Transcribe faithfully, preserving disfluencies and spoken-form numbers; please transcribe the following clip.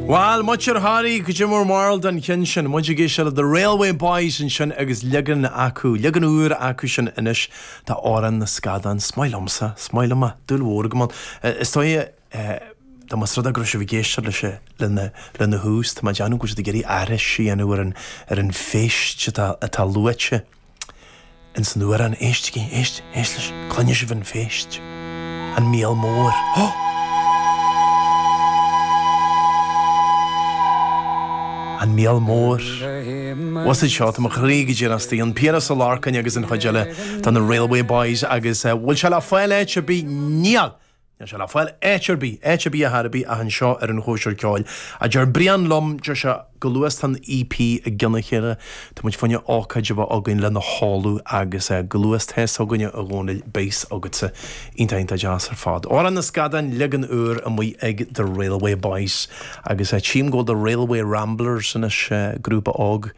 Well, much ar Harry go Jim marl den chin sin muid ag éisteacht le The Railway Boys ansin agus leagan acu, leagan úr acu sin anois tá Amhrán na Scadán is maith liomsa, is maith liom dúil mhór go man. Is dóigh Tá mas rud go raibh géisteir leis lena lena thús Tá má deanú go de gurí aris sí an ar an ar an phéist atá atá luaite. In san uair an éistí éist éist leis cluine sibh an phéist. An míol mór. Oh! An míol mór. Was seo tá mo chroí go dtí asti an Piaras Ó Lorcáin agus an chuid eile tá na Railway Boys agus uh, bhfuil sé le fáil áit ar bith níl. Níl sé le fáil áit ar bith áit ar bith a tharbí a an seo ar an chóisir ceoil. A deir Brian liom deir sé go luath an EP i gcionn a chéile Tá muid fáinne ócáid a bheith againn lena hálú agus uh, go luath tess againne a dhónail béis agatsa iontach deas ar fad. Amhrán na Scadán leagan úr amuigh ag The Railway Boys agus uh, tchím go The Railway Ramblers anois uh, grúpa óg